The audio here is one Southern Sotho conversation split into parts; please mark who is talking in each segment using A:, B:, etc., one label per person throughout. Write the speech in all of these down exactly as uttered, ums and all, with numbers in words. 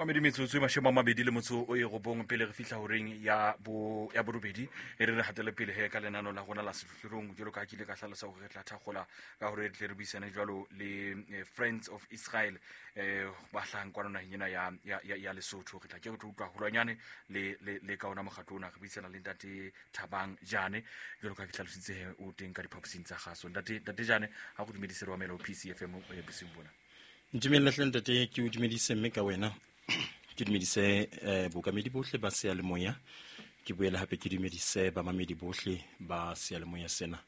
A: Mamedi metsotso e mashome a mabedi le motso o e robong pele re fihla horeng ya bo ya borobedi e re re hatele pele he ka lenano la rona la sehlohlolong jwalo ka ha ke ile ka hlalosa hore re tla thakgola ka hore re tle re buisane jwalo le eh, Friends of Israel eh ba hlahang kwano naheng ena ya ya ya, ya Lesotho. Re tla ke re tlo utlwa haholwanyane le le le ka ona mokgatlo ona. Re buisana le ntate Thabang Jane jwalo ka ha ke hlalositse he o teng ka diphaposing tsa kgaso. Ntate ntate Jane, ha go dumedise re wa mela ho P C F M eh, bosiung bona.
B: Ntumelle hle ntate, ke o dumedise mme ka wena ke dumedise eh, bookamedi bohle ba seyalemoya, ke boele hape ke dumedise bamamedi bohle ba seyalemoya sena.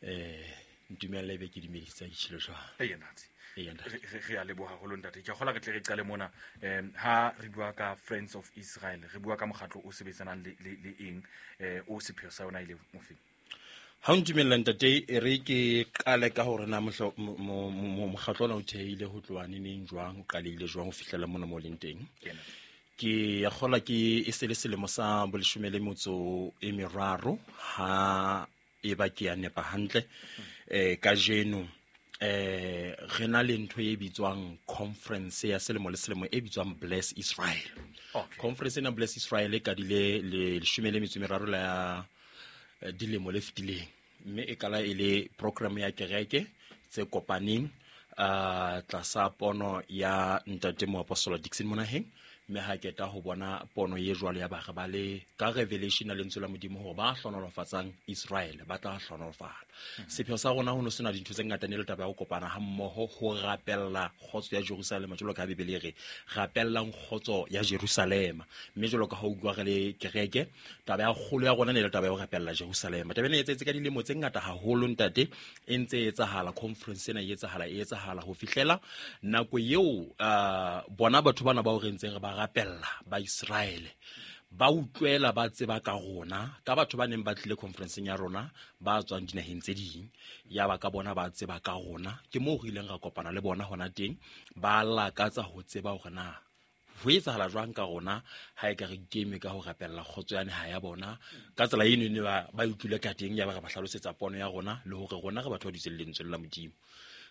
B: Eh ntumelle ebe ke dumedise ditshilo jwang.
A: Eya, ntate.
B: Eya, ntate.
A: Re, re, re a leboha haholo ntate. Ke a kgolwa re tle re qale mona. Em ha re bua ka Friends of Israel, re bua ka mokgatlo o sebetsanang le le, le eng, eh o sepheo sa yona e le mofeng?
B: Ha o ntumella ntate, e re ke qale ka hore na mohlo-, mo-, mo-, mo-, mokgatlo ona o thehile ho tloha neneng jwang, o qalehile jwang ho fihlela mona mo leng teng.
A: Kena.
B: Ke a kgolwa ke e se le selemo sa boleshome le metso e meraro ha e ba ke a nepa hantle. Eh, kajeno, eh, re na le ntho e bitswang conference ya selemo le selemo e bitswang Bless Israel.
A: Okay.
B: Conference ena Bless Israel e qadile le leshome le metso e meraro la, eh, dilemo le fetileng, mme e qala e le program ya kereke tse kopaneng, ah, tlasa pono ya ntate moapostola Dickson Monaheng. Mme ha keta ho bona pono e jwalo ya ba re ba le ka revelation ya lentswe la Modimo hore ba hlohonolofatsang Israel ba tla hlohonolofala.
A: Mm-hmm.
B: Sepheo sa rona ho no sena dintho tse ngata, ne le taba ya ho kopana ha mmoho ho rapella kgotso ya Jerusalema, jwalo ka ha Bibele e re rapellang kgotso ya Jerusalema. Mme jwalo ka ha o utlwa re le kereke, taba ya kgolo ya rona ne le taba ya ho rapella Jerusalema. Taba ena e etsahetse ka dilemo tse ngata haholo ntate, e ntse e etsahala, conference ena e etsahala, e etsahala ho fihlela nako eo, ah, bona batho bana bao re ntseng re ba rapella ba Israele ba utlwela, ba tseba ka rona, ka batho ba neng ba tlile conferenceng ya rona ba tswang dinaheng tse ding, ya ba ka bona ba tseba ka rona. Ke moo re ileng ra kopana le bona hona teng, ba lakatsa ho tseba hore na ho etsahala jwang ka rona ha e ka re ikeme ka ho rapella kgotso ya naha ya bona. Ka tsela eno ne ba, ba utlwile ka teng, ya ba re ba hlalosetsa pono ya rona le hore rona re batho ba dutseng lentswe la Modimo.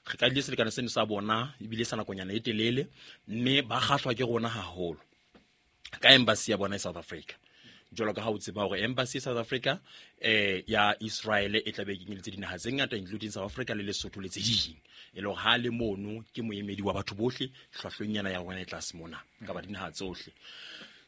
B: Re qadile selekane seno sa bona ebile sa nakonyana e telele, mme ba kgahlwa ke rona haholo ka embassy ya bona e South Africa. Jwalo ka ha o tseba hore embassy South Africa, eh, ya Israel e tla be e kenyeletse dinaha tse ngata including South Africa le Lesotho le tse ding. E le hore ha le mono ke moemedi wa batho bohle, hlwahlweng yana ya rona e tlase mona ka ba dinaha tsohle.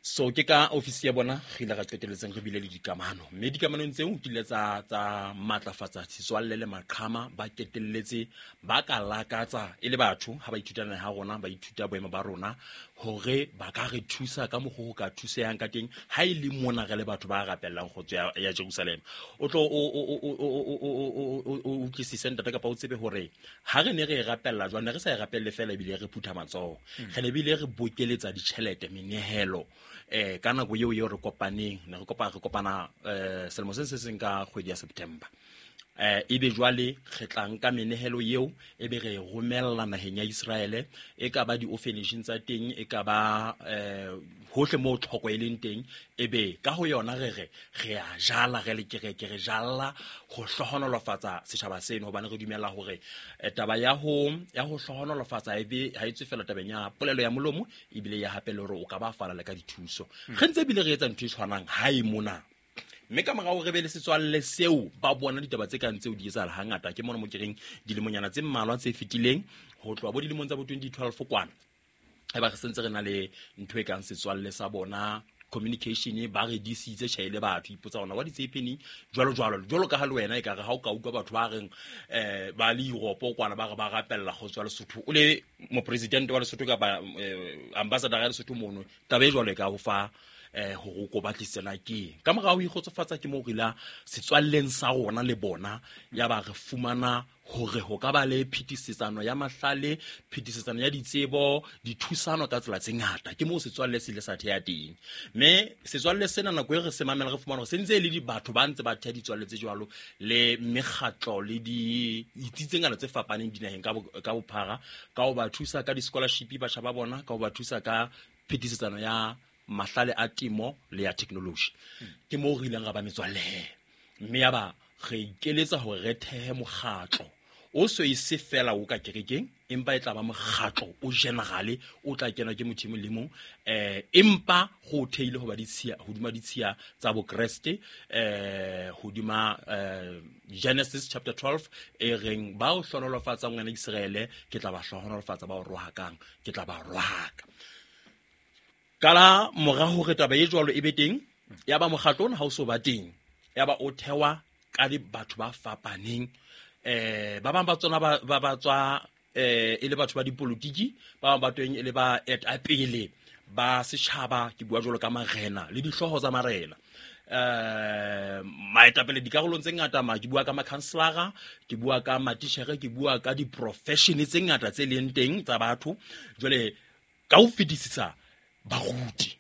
B: So ke ka ofisi ya bona re ile ra qetelletseng re bile le dikamano, mme dikamanong tseo di ile tsa, tsa matlafatsa setswalle le maqhama. Ba qetelletse ba ka lakatsa e le batho ha ba ithuta naha ya rona, ba ithuta boemo ba rona hore ba ka re thusa ka mokgwa ho ka thusehang ka teng ha e le mona re le batho ba rapellang kgotso ya, ya Jerusalema. O tlo o, o, o, o, o, o, o, o, o, o utlwisise ntate kapa o tsebe hore ha re ne re e rapella jwang, ne re sa e rapelle feela ebile re phutha matsoho.
A: Hmm.
B: Re ne bile re bokeletsa ditjhelete, menehelo. Eh, ka nako eo eo re kopaneng, ne re kopa, re kopana, eh, selemo se se seng ka kgwedi ya September. Eh, ebe jwale re tla nka menehelo eo, ebe re e romella naheng ya Israele, e ka ba di-orphanage tsa teng, e ka ba, eh, hohle moo tlhoko e leng teng, ebe ka ho yona re re, re a jala, re le kereke, re jalla ho hlohonolofatsa setjhaba seno, hobane re dumela hore, eh, taba ya ho, ya ho hlohonolofatsa ebe ha e tswe fela tabeng ya polelo ya molomo, ebile ya hape le hore o ka ba fala le ka dithuso.
A: Hmm.
B: Re ntse ebile re etsa ntho e tshwanang hae mona. Mme ka morao re be le setswalle seo, ba bona ditaba tse kang tseo di etsahala hangata. Ke mona mo ke reng dilemonyana tse mmalwa tse fetileng, ho tloha bo dilemong tsa bo twenty twelve kwana, e ba re sentse re na le ntho e kang setswalle sa bona, communication, ba re disitse tjhe le batho, ipotsa hore what is happening, jwalo jwalo. Jwalo ka ha le wena e ka re ha o ka utlwa batho ba reng, eh, ba le Europe kwana ba re ba rapella kgotso ya Lesotho, o le mopresidente wa Lesotho kapa, eh, ambassador ya Lesotho mono, taba e jwalo e ka ho fa, eh, hore o ko batlisise na ke eng. Ka morao ho ikgotsofatsa ke moo re ila setswalleng sa rona le bona, ya ba re fumana hore ho ka ba le phetisetsano ya mahlale, phetisetsano ya ditsebo, dithusano ka tsela tse ngata. Ke moo setswalle se ile sa theha teng. Mme setswalle sena nako e re se mamela re fumana hore se ntse e le di batho ba ntse ba theha ditswalle tse jwalo le mekgatlo le ditsi tse ngata tse fapaneng dinaheng ka bo-, ka bophara, ka ho ba thusa ka di-scholarship batjha ba bona, ka ho ba thusa ka phetisetsano ya mahlale a temo le ya technology.
A: Hmm.
B: Ke moo re ileng ra ba metswalle he. Mme ya ba re ikeletsa hore re thehe mokgatlo O so e se fela o ka kerekeng, empa e tla ba mokgatlo o generale o tla kena ke motho le mong, eh empa go theile ho ba ditshiya hodima ditshiya tsa bokreste, eh hodima Genesis chapter twelve e reng ba o hlonolofatsa ngwana Israele ke tla ba hlonolofatsa, ba o rohakang ke tla ba rohaka. Kala mora hore taba e jwalo e be teng, ya ba mokgatlo ona ha o so ba teng, ya ba o thewa ka di batho ba fapaneng, eh ba bang ba tsona ba ba tswa eh e le batho ba dipolitiki, ba bang ba teng e le ba etapele ba setjhaba, ke bua jwalo ka marena le dihlooho tsa marena, eh maetapele dikarolong tse ngata, ma ke bua ka makhanselara, ke bua ka matitjhere, ke bua ka di-profession tse ngata tse leng teng tsa batho. Jwale ka ho fetisisa baruti,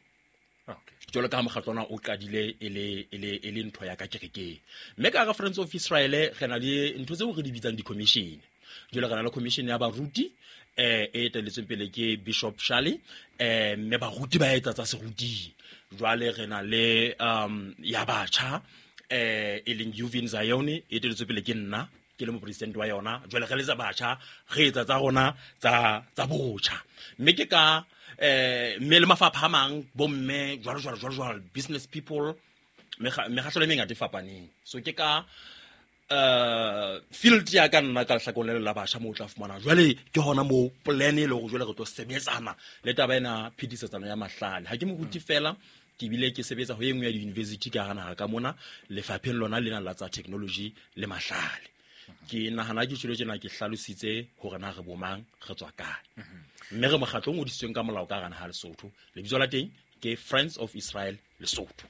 B: jwalo ka mokgatlo ona o qadile e le e le e le ntho ya ka kerekeng. Mme ka Friends of Israel re na le ntho tseo re di bitsang di-commission. Jwale re na le commission ya baruti eh e etelletsweng pele ke Bishop Shali, eh mme baruti ba etsa tsa seruti. Jwale re na le um ya batjha eh e leng Yuvin Zion, e etelletswe pele ke nna, ke le mopresident wa yona. Jwale re letsa batjha, re etsa tsa rona tsa tsa botjha. Mme ke ka eh mme le mafapha a mang, bomme jwalo jwalo jwalo jwalo, business people, mekgatlo e mengata e fapaneng. So ke ka uh field ya ka nna ka lehlakoreng la batjha moo o tla fumana. Jwale ke hona moo plan e le hore jwale re tlo sebetsana le taba ena phetisetsano ya mahlale. Ha ke moruti fela, ke bile ke sebetsa ho e nngwe ya di-university ka hara naha ka mona, lefapheng lona lena la tsa technology le mahlale. Ke nahana ke tjhelo tjena ke hlalositse hore na re bomang, re tswa kae. Mme re mokgatlo o ngodisitsweng ka molao ka hara naha Lesotho. Lebitso la teng ke Friends of Israel Lesotho.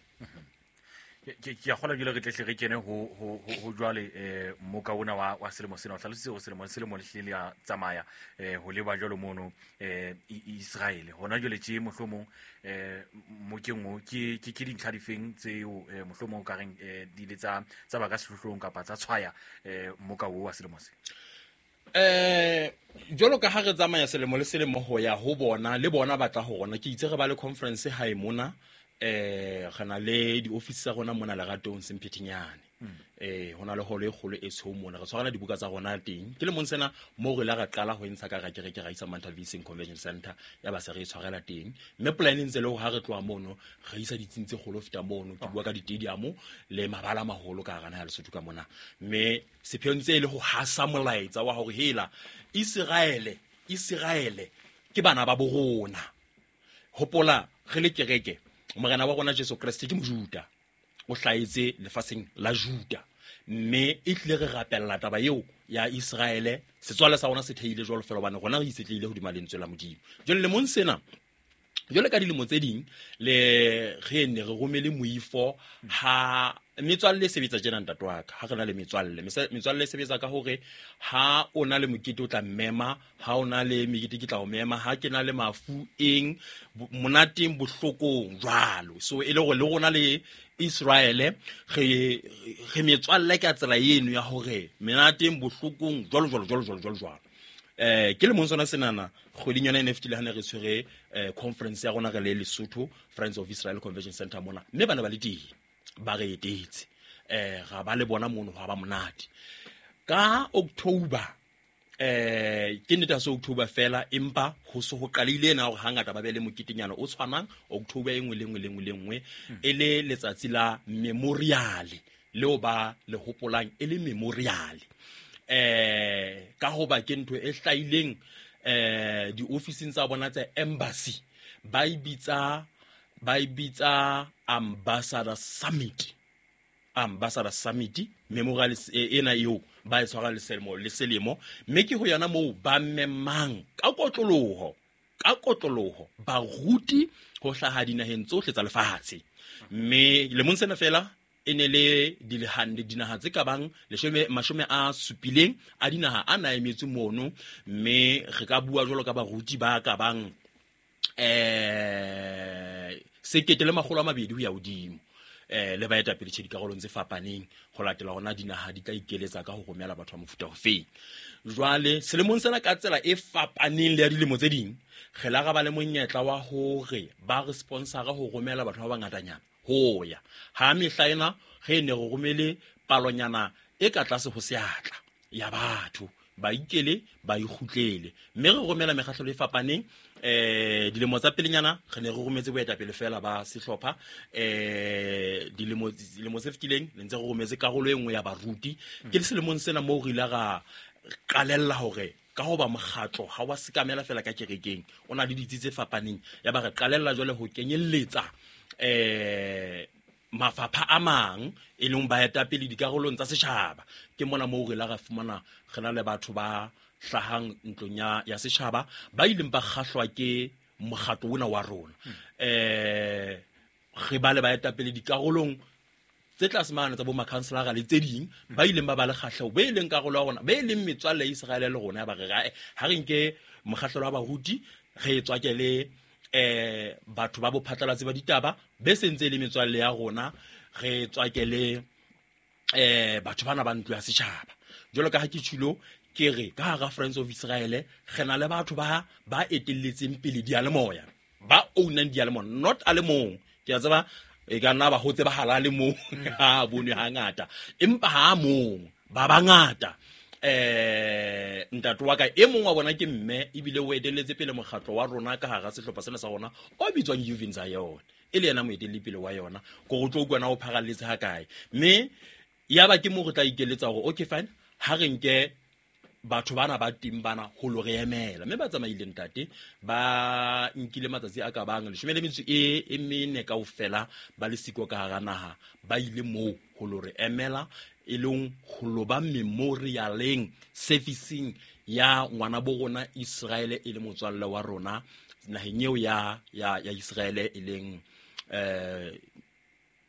A: Ke ke a kgola jwale re tle re kene ho ho ho jwale eh moka ona wa wa selemo sena. O hlalositse hore selemo selemo le hlile ya tsamaya eh ho leba jwalo mono eh Israel. Hona jwale tje mohlomong eh mokeng o ke ke ke dintlha difeng tseo mohlomong ka reng di le tsa tsa ba ka sehlohlolong kapa tsa tshwaya eh moka o wa selemo se?
B: Eh jwalo ka ha re tsamaya selemo le selemo ho ya ho bona le bona batla ho rona, ke itse re ba le conference hae mona, eh re na le di-office tsa rona mona Leratong Semphethinyane. Eh hona le holo e kgolo e tshweu mona, re tshwarana dibuka tsa rona teng. Ke lemong sena moo re la ra qala ho ntsha ka kereke ra isa Mantalvising Convention Center, ya ba se re tshwarela teng. Mme plan e ntse le hore ha re tloha mono re isa ditsing tse kgolo feta mono, ke bua ka di-stadium le mabala a maholo ka hara naha ya Lesotho ka mona. Mme sepheo ntse e le ho hasa molaetsa wa hore hela Israele, Israele ke bana ba borona. Hopola re le kereke, Morena wa rona Jesu Kreste ke Mojuda, o hlahetse lefatsheng la Juda, mme e tlile re rapella taba eo ya Israele. Setswalle sa rona se theile jwalo fela hobane rona re itshetlehile hodima lentswe la Modimo. Jwale lemong sena, jwale ka dilemo tse ding le re ne re romele moifo ha metswalle e sebetsa tjena ntate wa ka. Ha re na le metswalle, metswalle e sebetsa ka hore ha o na le mokete o tla mmema, ha o na le mekete ke tla o mema, ha ke na le mafu eng monateng bohlokong jwalo. So e le hore le rona le Israele re re metswalle ka tsela eno ya hore monateng bohlokong jwalo jwalo jwalo jwalo jwalo jwalo. Eh ke le mong sona senana kgweding yona e ne fetile ha ne re tshwere conference ya rona re le Lesotho Friends of Israel Convention Center mona, mme bana ba le teng ba re etetse, eh ga ba le bona mono ha ba monate. Ka October eh ke nnete ha se October fela, empa ho so ho qalile ena hore hangata ba be le moketenyana o tshwanang October e nngwe le nngwe le nngwe le nngwe, e le letsatsi la memorial leo ba le hopolang e le memorial. Eh ka hoba ke ntho e hlahileng eh di-officing tsa bona tsa embassy, ba e bitsa ba e bitsa Ambassador Summit. Ambassador Summit memorial ena eo ba e tshwara le selemo le selemo, mme ke ho yona moo ba memang ka kotloloho ka kotloloho baruti ho hlaha dinaheng tsohle tsa lefatshe. Mme lemong sena fela e ne le dilehande dinaha tse ka bang leshome mashome a supileng a dinaha a na emetse mono, mme re ka bua jwalo ka baruti ba ka bang eh sekete le makgolo a mabedi ho ya hodimo, eh le baetapele tjhe dikarolong tse fapaneng ho latela hona dinaha di tla ikeletsa ka ho romela batho ba mofuta ofeng. Jwale selemong sena ka tsela e fapaneng le ya dilemo tse ding, re la ra ba le monyetla wa hore ba re sponsora ho romela batho ba bangatanyana ho ya ha mehla ena re ne re romele palonyana e ka tlase ho seatla ya batho ba ikele ba ikgutlele. Mme re romela mekgahlelo e fapaneng. Eh dilemo tsa pelenyana re ne re rometse boetapele fela ba sehlopha, eh dilemo dilemo tse fetileng le ntse re rometse karolo e nngwe ya baruti. Ke selemong sena moo re ile ra qalella hore ka hoba mokgatlo ha wa sekamela fela ka kerekeng, o na le ditsi tse fapaneng, ya ba re qalella jwale ho kenyelletsa eh mafapha a mang e leng baetapele dikarolong tsa setjhaba. Ke mona moo re la ra fumana re na le batho ba hlahang ntlong ya ya setjhaba ba ileng ba kgahlwa ke mokgatlo ona wa rona. Eh re ba le baetapele dikarolong tse tlase mane tsa bo makhanselara le tse ding ba ileng ba ba le kgahleho, be leng karolo ya rona, be leng metswalle ya Israele le rona. Ya ba re ha re nke mokgahlelo wa baruti re tswake le eh batho ba bophatlalatsi ba ditaba be sentse le metswalle ya rona, re tswake le eh batho bana ba ntlo ya setjhaba. Jwalo ka ha ke tshilo ke re ka hara Friends of Israel re na le batho ba ba etelletseng pele diyalemoya, ba ownang diyalemoya, not a le mong. Ke a tseba e ka nna ba ho tsebahala le mong ha bonwe hangata, empa ha mong ba bangata. Eh ntate wa ka e mong wa bona ke mme, ebile o etelletse pele mokgatlo wa rona ka hara sehlopha sena sa rona o bitswang Yuvin Zion, e le yena moetelli pele wa yona. Ko go tlo utlwa o pharalletse ha kae. Mme ya ba ke mo re tla ikeletsa hore okay fine, ha re nke batho bana ba teng bana ho lo re emela. Mme ba tsamaile ntate, ba nkile matsatsi a ka bang leshome le metso e e mene kaofela ba le siko ka hara naha, ba ile moo ho lo re emela, e leng ho lo ba memorialeng servicing ya ngwana bo rona Israele e le motswalle wa rona naheng eo ya ya ya Israele, e leng eh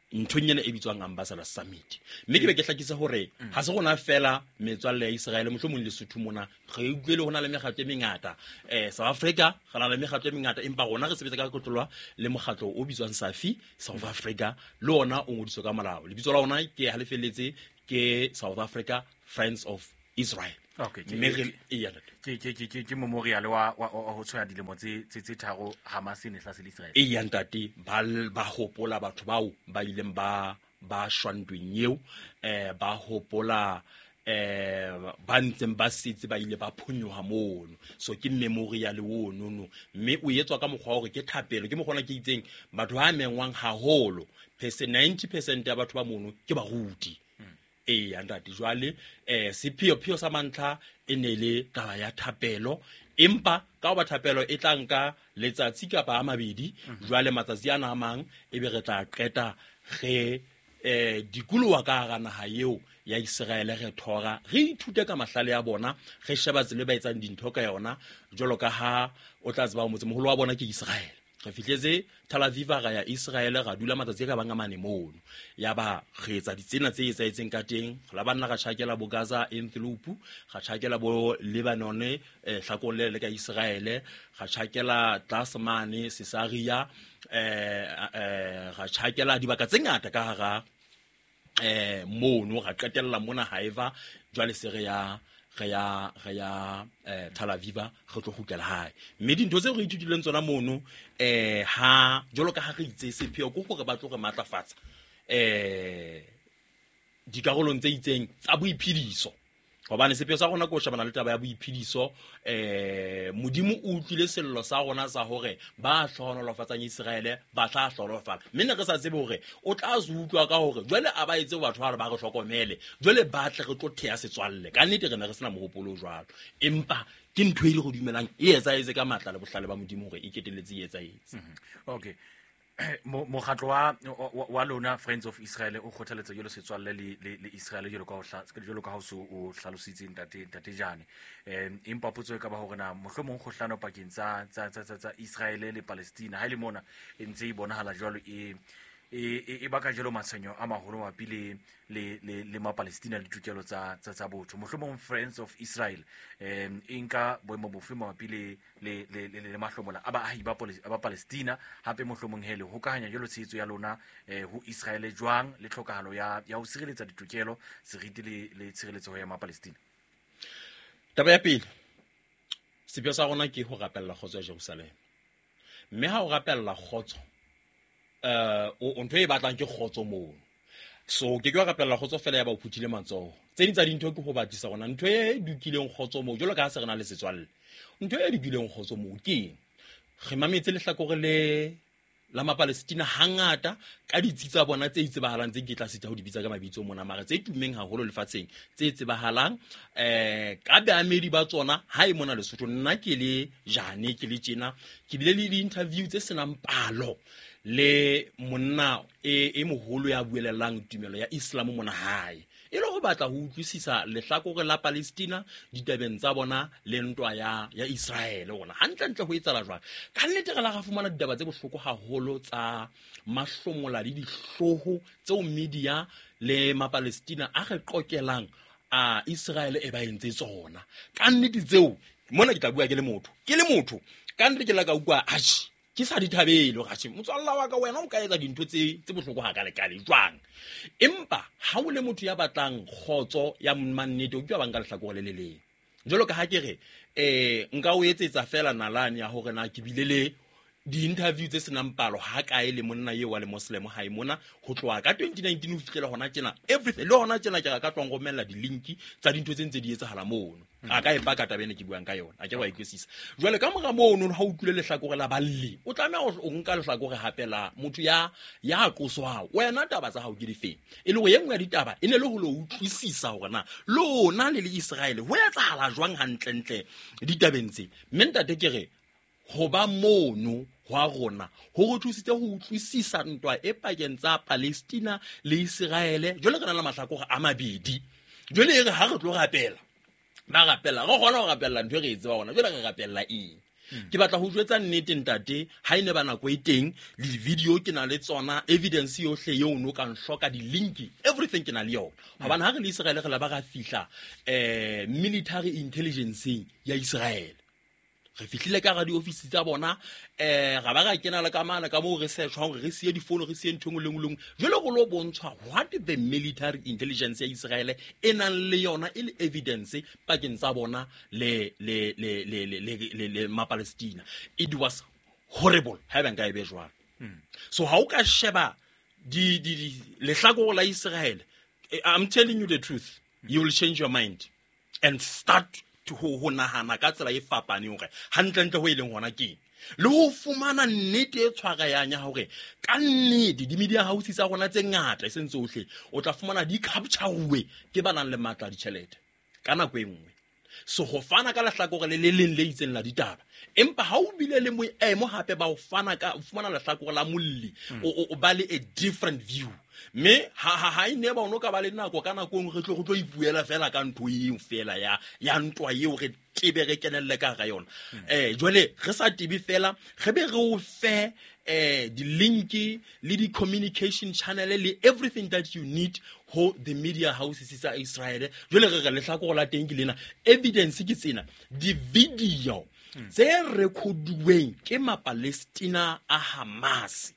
B: nthong ena e bitswang Ambassador Summit. Mme ke be ke hlakisa hore ha se rona fela metswalle ya Israele, mohlomong Lesotho mona re utlwile ho na le mekgatlo e mengata, eh South Africa re na le mekgatlo e mengata, empa rona re sebetsa ka kotlolwa le mokgatlo o bitswang Safi South Africa, le ona o ngodiswe ka molao. Lebitso la ona ke ha le felletse ke South Africa Friends of Israel.
A: Okay,
B: ke
A: ke ke ke ke memorial wa wa ho tshwaya dilemo tse tse tse tharo Hamas e ne hlasela Israel.
B: E ya ntate, ba ba hopola batho bao ba ileng ba ba shwa ntweng eo, eh ba hopola eh ba ntseng ba setse ba ile ba phonyoha mono. So ke memorial ono no, mme o etswa ka mokgwa hore ke thapelo, ke mokgwa ona ke itseng batho ba mengwang haholo, percent ninety percent ya batho ba mono ke baruti. E ya ntate, jwale eh sepheo pheo sa mantlha e ne le taba ya thapelo, empa ka hoba thapelo e tla nka letsatsi kapa a mabedi, jwale matsatsi ana a mang e be re tla qeta re eh dikoloha ka hara naha eo ya Israele, re thora re ithute ka mahlale ya bona, re sheba tsela e ba etsang dintho ka yona. Jwalo ka ha o tla tseba motsemoholo wa bona ke Israele. Re fihletse Tel Aviv ra ya Israel, ra dula matsatsi a ka bang a mane mono. Ya ba re etsa ditsena tse etsahetseng ka teng, la banna ra tjhakela bo Gaza Antelope, ra tjhakela bo Lebanon eh hlakong le le ka Israel, ra tjhakela tlase mane Caesarea, eh eh ra tjhakela dibaka tse ngata ka hara eh mono, ra qetella mona Haifa. Jwale se re ya re ya re ya eh Tel Aviv re tlo kgutlela hae. Mme dintho tseo re ithutileng tsona mono eh ha jwalo ka ha re itse sepheo ke hore ba tlo re matlafatsa eh dikarolong tse itseng tsa boiphediso, hobane sepheo sa rona ke ho shebana le taba ya boiphediso. Eh Modimo o utlwile sello sa rona sa hore ba hlohonolofatsang Israele ba tla hlohonolofala, mme ne re sa tsebe hore o tla se utlwa ka hore jwale a ba etse batho ba re ba re hlokomele, jwale ba tle re tlo theha setswalle. Ka nnete re ne re sena mohopolo o jwalo, empa ke ntho e le go dumelang e etsahetse ka matla le bohlale ba Modimo hore e ketelletse e etsahetse.
A: Okay, mokgatlo wa wa lona Friends of Israel o kgothaletsa jwalo setswalle le le Israel jwalo ka ho jwalo ka ho so o hlalositse ntate ntate Jane. Eh empa potso e ka ba hore na mohlomong kgohlano pakeng tsa tsa tsa tsa Israel le Palestina ha ile mona e ntse e bonahala jwalo e e e baka jwalo matshwenyo a maholo mabapi le le le le ma Palestina le ditokelo tsa tsa tsa botho. Mohlomong Friends of Israel em e nka boemo bofe mabapi le le le le mahlomola a baahi ba ba Palestina, hape mohlomong hele hokahanya jwalo tshehetso ya lona ho Israel jwang le tlhokahalo ya ya ho sireletsa ditokelo, seriti le le tshireletso ya ma Palestina?
B: Taba ya pele, sepheo sa rona ke ho rapella kgotso ya Jerusalem. Mme ha o rapella kgotso eh o ntho e batlang ke kgotso mono. So ke ke wa rapella kgotso fela ya ba o phuthile matsoho. Tse ding tsa dintho ke ho batlisa gona ntho e dukileng kgotso moo jwalo ka ha se re na le setswalle. Ntho e dukileng kgotso moo ke eng? Re mametse lehlakore le la Mapalestina hangata ka ditsi tsa bona tse itsebahalang tse ke tla sita ho di bitsa ka mabitso mona, mara tse tumeng haholo lefatsheng tse tsebahalang eh ka baamedi ba tsona ha e mona Lesotho. Nna ke le jane ke le tjena ke bile le di-interview tse senang palo le monna e e moholo ya buelellang tumelo ya Islam mona hae, e le ho batla ho utlwisisa lehlakore la Palestina ditabeng tsa bona le ntwa ya ya Israel ona hantlentle ho etsahala jwang. Ka nnete re la ra fumana ditaba tse bohloko haholo tsa mahlomola le dihloho tseo media le Mapalestina a re qokelang a Israel e ba entse tsona. Ka nnete tseo mona ke tla bua ke le motho ke le motho ka nnete ke la ka utlwa atjhe ke sa di thabele hore atjhe motswalla wa ka wena o ka etsa dintho tse tse bohloko hakalekale jwang. Empa ha o le motho ya batlang kgotso ya mannete o ke wa banka lehlakore le le leng. Jwalo ka ha ke re eh nka o etsetsa fela nalane ya hore na ke bile le di-interview tse senang palo ha kae le monna eo wa le Muslim hae mona ho tloha ka twenty nineteen ho fihlela hona tjena everything. Le hona tjena ke ka tloha romella di-link tsa dintho tse ntse di etsahala mono. A ka e paka taba ena ke buang ka yona, a ke wa ikwesisa. Jwale ka mora mono ha o utlwile lehlakore la balli, o tlameha o nka lehlakore hape la motho ya ya qoswang. Wena taba tsa hao ke difeng? E le hore e nngwe ya ditaba e ne le ho lo utlwisisa hore na lona le le Israel ho etsahala jwang hantlentle ditabeng tse. Mme ntate ke re ho ba mono hwa rona ho re thusitse ho utlwisisa ntwa e pakeng tsa Palestina le Israel. Jwale re na le mahlakore a mabedi. Jwale e re ha re tlo rapela, ba rapela, re kgona ho rapella ntho e re e tseba hona. Jwale re rapella eng? Ke batla ho jwetsa nnete ntate, ha e ne ba nako e teng le di-video ke na le tsona, evidence yohle eo no ka nhloka, di-link, everything ke na le yona. Hobane ha re le Israel re la ba ra fihla eh military intelligence ya Israel. Re fihlile ka hara diofisi tsa bona, eh ra ba ra kena le ka mane ka moo re search-wang hore re siye difono, re siye ntho e nngwe le nngwe le nngwe. Jwale go lo bontshwa what the military intelligence ya Israel e nang le yona e le evidence pakeng tsa bona le le le le le le le le Mapalestina. It was horrible ha eba nka e be jwalo. So ha o ka sheba di di lehlakore la Israel, I'm telling you the truth, you will change your mind and start ho ho nahana ka tsela e fapaneng hore hantlentle ho e leng hona ke le ho fumana nnete e tshwarayang ya hore ka nnete di-media houses tsa rona tse ngata e seng tsohle o tla fumana di capture-uwe ke ba nang le matla a ditjhelete ka nako e nngwe. So ho fana ka lehlakore le le leng le itseng la ditaba, empa ha o bile le moemo hape ba ho fana ka o fumana lehlakore la molli, o o ba le a different view. Mme ha ha ha ine ba ono ka ba le nako ka nako engwe re tlo re tlo ipuela fela ka ntho eo fela ya ya ntwa eo re tebe re kenelle ka hara yona. Eh jwale re sa tebe fela re be re o fe eh di-link le di-communication channel le everything that you need ho the media houses tsa Israel. Jwale re re lehlakore la teng ke lena, evidence ke tsena, di-video tse rekoduweng ke Mapalestina a Hamas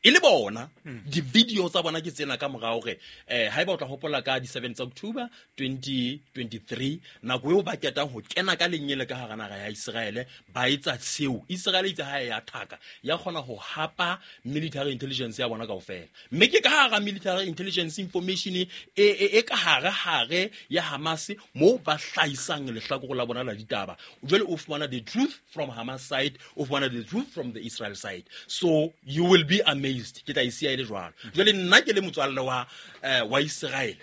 B: e le bona di-video tsa bona ke tsena ka morao hore eh haeba o tla hopola ka di-seventh October twenty twenty-three nako eo ba ketang ho kena ka lenyele ka hara naha ya Israel ba etsa seo. Israel itse ha ya thaka ya kgona ho hapa military intelligence ya bona kaofela, mme ke ka hara military intelligence information e e ka hare hare ya Hamas moo ba hlahisang lehlakore la bona la ditaba. Jwale o fumana the truth from Hamas side, o fumana the truth from the Israel side, so you will be amazed. Ke tla e siya e le jwalo. Jwale nna ke le motswalle wa eh, wa Israel,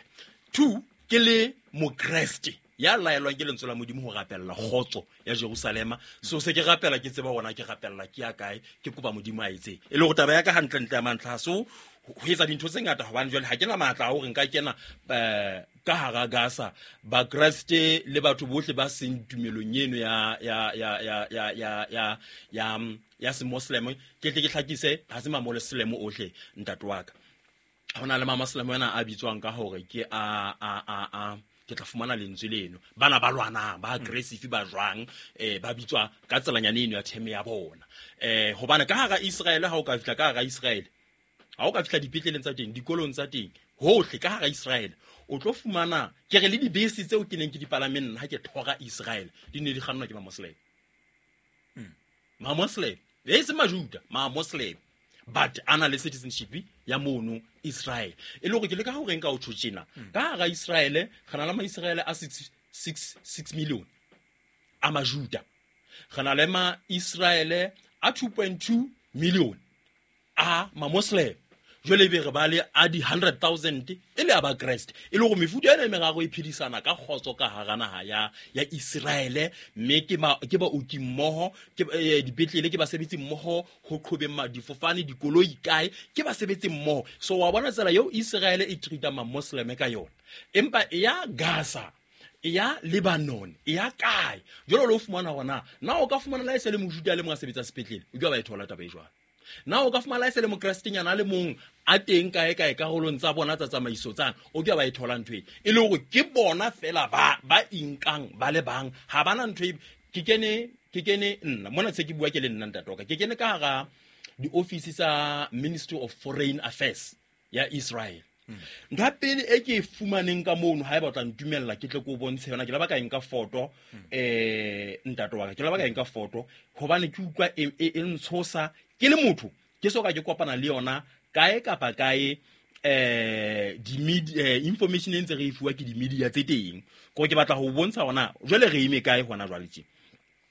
B: two ke le mokreste ya laelwang ke lentswe la Modimo ho rapella kgotso ya Jerusalema. So se ke rapela ke tseba hona ke rapella ke ya kae, ke kopa Modimo a etse e le hore taba ya ka hantlentle ya mantlha so ho etsa dintho tse ngata hobane jwale ha ke na matla a hore nka kena eh ka hara Gaza. Bakreste le batho bohle ba seng tumelong eno ya ya ya ya ya ya ya ya ya semoslem, ke tle ke hlakise ha se mamoslem ohle ntate wa ka. Ho na le mamoslem ana a bitswang ka hore ke a a a a ke tla fumana lentswe leno, bana ba lwanang ba aggressive ba jwang eh ba bitswa ka tselanyana eno ya theme ya bona. Eh hobane ka hara Israel ha o ka fihla ka hara Israel, ha o ka fihla dipetleleng tsa teng, dikolong tsa teng, hohle ka hara Israel o tlo fumana ke re le dibese tseo ke neng ke di palameng ha ke thora Israel di ne di kgannwa ke mamoslem. Mamoslem e se majuda, mamoslem But a na le citizenship ya mono Israel. E le hore ke le ka hore nka o tjho tjena. Ka hara Israel re na le ma Israel a six six six million a Majuda. Re na le ma Israel a two point two million a ma Muslim. Jwale be re ba le a di hundred thousand e le a ba Kreste. E le hore mefuta ena e meraro e phedisana ka kgotso ka hara naha ya ya Israel, mme ke ba ke ba oki mmoho, ke dipetlele, ke basebetsi mmoho ho qhobeng ma difofane, dikoloi kae, ke basebetsi mmoho. So wa bona tsela eo Israel e treat-a ma Muslim ka yona. Empa e ya Gaza, e ya Lebanon, e ya kae? Jwale lo fumana hona na o ka fumana la e se le Mojuda le mong a sebetsa sepetlele, o ke ba e thola taba e jwalo. Na o ka fumana la e se le Mokrestenyana le mong a teng kae kae karolong tsa bona tsa tsamaiso tsana, o ke ba e thola ntho e. E le hore ke bona fela ba ba inkang ba le bang, ha bana ntho e. Ke kene ke kene nna mona se ke bua ke le nna ntate wa ka, ke kene ka hara di-office tsa Ministry of Foreign Affairs ya Israel. Ntho ya pele e ke e fumaneng ka mono, haeba o tla ntumella ke tle ke o bontshe yona, ke la ba ka e nka foto, eh ntate wa ka, ke la ba ka e nka foto hobane ke utlwa e, e, e ntshosa ke le motho, ke so ka ke kopana le yona kae kapa kae, eh di media information e ntse re e fuwa ke di media tse teng. Ko ke batla ho bontsha hona jwale re eme kae hona jwale tje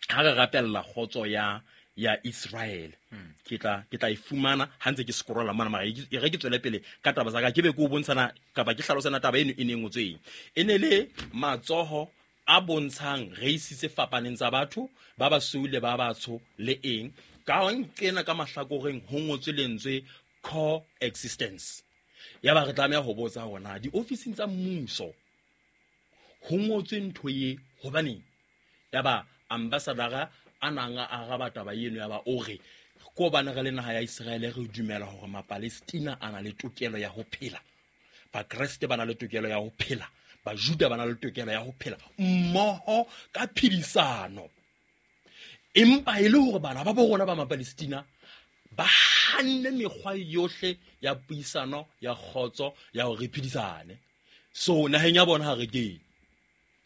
B: ha re rapella kgotso ya ya Israel. Ke tla ke tla e fumana ha ntse ke scrolla mona, mara e re ke tswele pele ka taba tsa ka, ke be ke o bontshana kapa ke hlalosana taba eno e ne ngotsweng. E ne le matsoho a bontshang race tse fapaneng tsa batho ba basweu le ba batsho le eng. Ka nkena ka mahlakoreng ho ngotswe lentswe coexistence. Ya ba re tlameha ho botsa hona diofising tsa mmuso ho ngotswe ntho e hobaneng. Ya ba ambassador a nang a araba taba eno, ya ba o re ko bana re le naha ya Israel re dumela hore Mapalestina a na le tokelo ya ho phela, Bakreste ba na le tokelo ya ho phela, Bajuda ba na le tokelo ya ho phela mmoho ka phedisano. Empa e le hore bana ba bo rona ba Mapalestina ba hanne mekgwa yohle ya puisano ya kgotso ya hore re phedisane. So naheng ya bona ha re kene.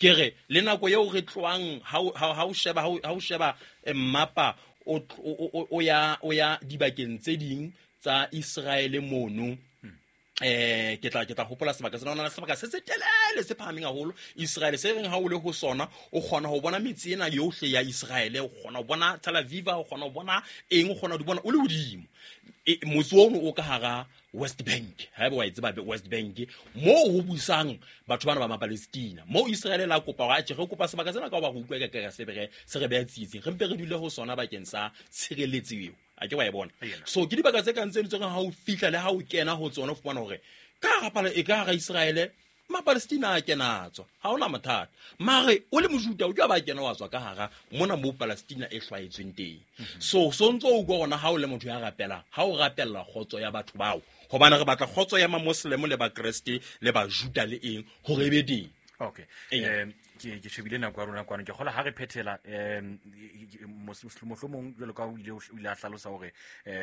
B: Ke re le nako eo re tloang ha ha o sheba ha o sheba mmapa o o ya o ya dibakeng tse ding tsa Israel mono, eh ke tla ke tla hopola sebaka sena, ona sebaka se se telele se phahameng haholo Israel, se reng ha o le ho sona o kgona ho bona metse ena yohle ya Israel, o kgona ho bona Tel Aviv, o kgona ho bona eng, o kgona ho di bona o le hodimo. Motse ono o ka hara West Bank, haeba wa e tseba West Bank, moo ho busang batho bana ba Mapalestina, moo Israel la kopa hore atjhe re kopa sebaka sena ka hoba re utlwa ka ka se re se re beha tsietsing, re mpe re dule ho sona bakeng sa tshireletso eo. A ke wa e bona. So ke dibaka tse kang tseno tse ha o fihla le ha o kena ho tsona o fumana hore ka hara pala e ka hara Israel Mapalestina a kena tswa, ha hona mathata. Mare o le Mojuda o ke ba kena wa tswa ka hara mona mo Palestina e hlwaetsweng teng. So so ntso o utlwa hona ha o le motho ya rapelang, ha o rapella kgotso ya batho bao, hobane re batla kgotso ya Mamoslem le Bakreste le Bajuda le eng hore e be teng.
A: Okay. Um ke ke shebile nako ya rona kwano, ke kgola ha re phethela um mohlomong jwalo ka o ile o ile a hlalosa hore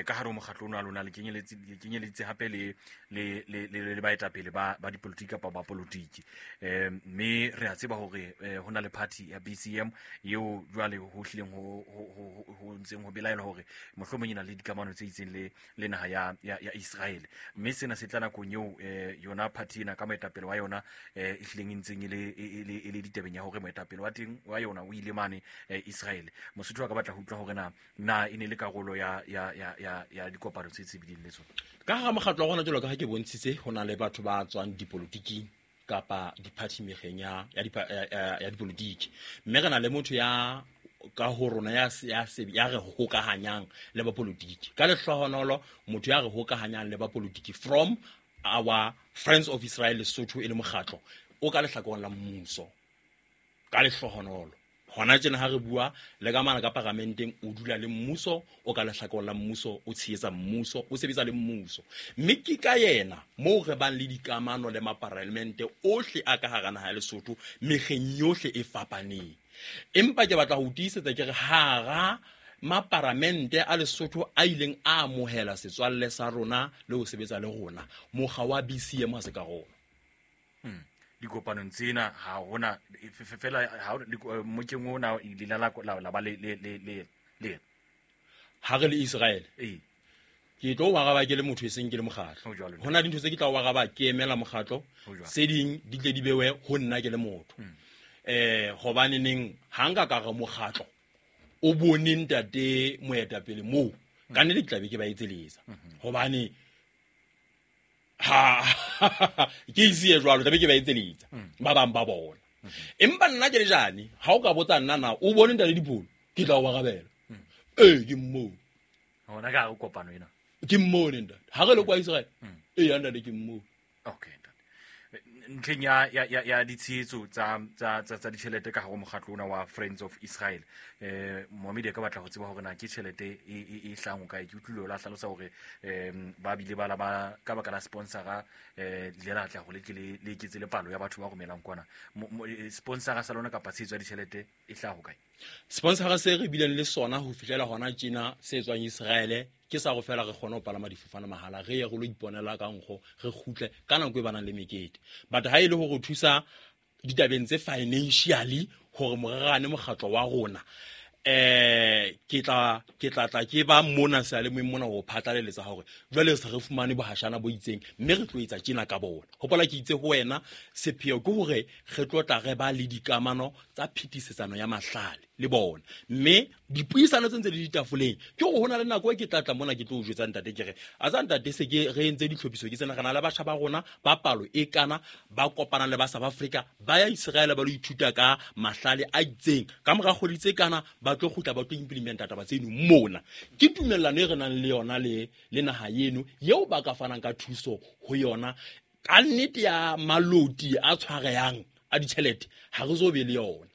A: ka hare ho mokgatlo ono wa lona le kenyeletse le kenyeletse hape le le le le baetapele ba ba dipolotiki kapa ba politiki. Um mme re a tseba hore ho na le party ya B C M eo jwale ho hlileng ho ho ho ntseng ho belaelwa hore mohlomong e na le dikamano tse itseng le le naha ya ya Israel. Mme sena se tla nakong eo yona party ena ka moetapele wa yona e hlileng e ntseng e le e le ditebeng ya hore moetapele wa teng wa yona o ile mane Israel. Mosotho a ka batla ho utlwa hore na na e ne le karolo ya ya ya ya dikopano tse tsebileng le tsona.
B: Ka hara mokgatlo wa rona jwalo ka ha ke bontshitse, ho na le batho ba tswang dipolotiking kapa di-party mekgeng ya ya dipolotiki, mme re na le motho ya ka ho rona ya ya ya re hokahanyang le ba politiki. Ka lehlohonolo motho ya re hokahanyang le ba politiki from our Friends of Israel Lesotho e le mokgatlo o ka lehlakoreng la mmuso. Ka lehlohonolo hona tjena ha re bua le ka mana ka paramenteng, o dula le mmuso, o ka lehlakoreng la mmuso, o tshehetsa mmuso, o sebetsa le mmuso. Mme ke ka yena moo re bang le dikamano le maparlamente ohle a ka hara naha ya Lesotho mekgeng yohle e fapaneng. Empa ke batla ho tiisetsa ke re hara maparamente a Lesotho a ileng a amohela setswalle sa rona le ho sebetsa le rona, mokga wa B C M ha se karolo.
A: Hmm. Dikopanong tsena ha hona fela ha mokeng ona ile la la ba le le le le
B: ha re le Israel.
A: Eh.
B: Ke tlo o araba ke le motho e seng ke le mokgatlo.
A: Ho jwalo.
B: Ho na le dintho tse ke tla o araba ke emela mokgatlo,
A: Ho jwalo.
B: tse ding di tle di bewe ho nna ke le motho. Eh hobane neng ha nka ka re mokgatlo o bone ntate moetapele moo, ka nnete ke tla be ke ba etseletsa. Hobane ha ke ise jwalo, tla be ke ba etseletsa ba bang ba bona. Empa nna ke le jane, ha o ka botsa nna na o bone ntate Dipholo, ke tla o arabela. Ee, ke mmoo.
A: Hona ka hare kopano ena.
B: Ke mmone ntate. Ha re le kwa Israel. Ee, ntate ke mmoo.
A: Okay, ntate. Ntlheng ya ya ya ya ditshehetso tsa tsa tsa tsa ditjhelete ka hare ho mokgatlo ona wa Friends of Israel. Eh Mohammed ka batla ho tseba hore na ke tjhelete e e e hlang ho kae. Ke utlwile o la hlalosa hore em ba bile ba la ba ka baka la sponsora eh le la tla hore le tle le le eketse le palo ya batho ba romelang kwana. Sponsora sa lona kapa tshehetso ya ditjhelete e hlaha ho kae?
B: Sponsora se re bileng le sona ho fihlela hona tjena se tswang Israel ke sa go fela re kgone ho palama difofane mahala, re ye re lo iponela ka nkgo, re kgutle ka nako e banang le mekete. But ha e le hore thusa ditabeng tse financially hore morerane mokgatlo wa rona, eh ke tla ke tla tla ke ba mona seyalemoyeng mona ho phatlaleletsa hore jwale se re fumane bohashana bo itseng mme re tlo etsa tjena ka bona. Hopola ke itse ho wena sepheo ke hore re tlo tla re ba le dikamano tsa phetisetsano ya mahlale le bona, mme dipuisano tse ntse di ditafoleng ke hore hona le nako e ke tla tla mona ke tlo o jwetsa ntate ke re a tsa ntate se ke re entse ditlhophiso ke tsena, re na le batjha ba rona ba palo e kana ba kopana le ba South Africa ba ya Israel ba lo ithuta ka mahlale a itseng, ka mora kgwedi tse kana ba tlo kgutla ba tlo implementa taba tseno mona. Ke tumellano e re nang le yona le le naha eno eo ba ka fanang ka thuso ho yona. Ka nnete ya maloti a tshwarehang a ditjhelete ha re zo be le yona.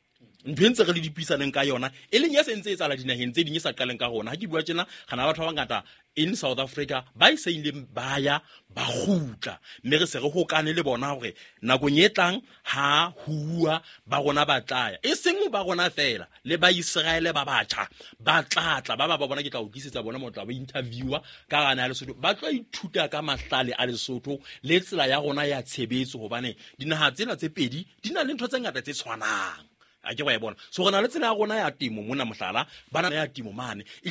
B: Ntho e ntse re le dipuisaneng ka yona e leng ya se ntse e etsahala dinaheng tse ding e sa qaleng ka rona. Ha ke bua tjena re na batho ba bangata in South Africa ba e se ileng ba ya ba kgutla, mme re se re hokane le bona hore nakong e tlang ha huwa ba rona ba tla ya, e seng ba rona fela le ba Israele ba batjha ba tla tla ba ba ba bona. Ke tla o tlisetsa bona mo tla ba interviewer ka gana ya Lesotho, ba tlo ithuta ka mahlale a Lesotho le tsela ya rona ya tshebetso, hobane dinaha tsena tse pedi di na le ntho tse ngata tse tshwanang. A ke wa e bona. So re na le tsela ya rona ya temo mona, mohlala ba na ya temo mane.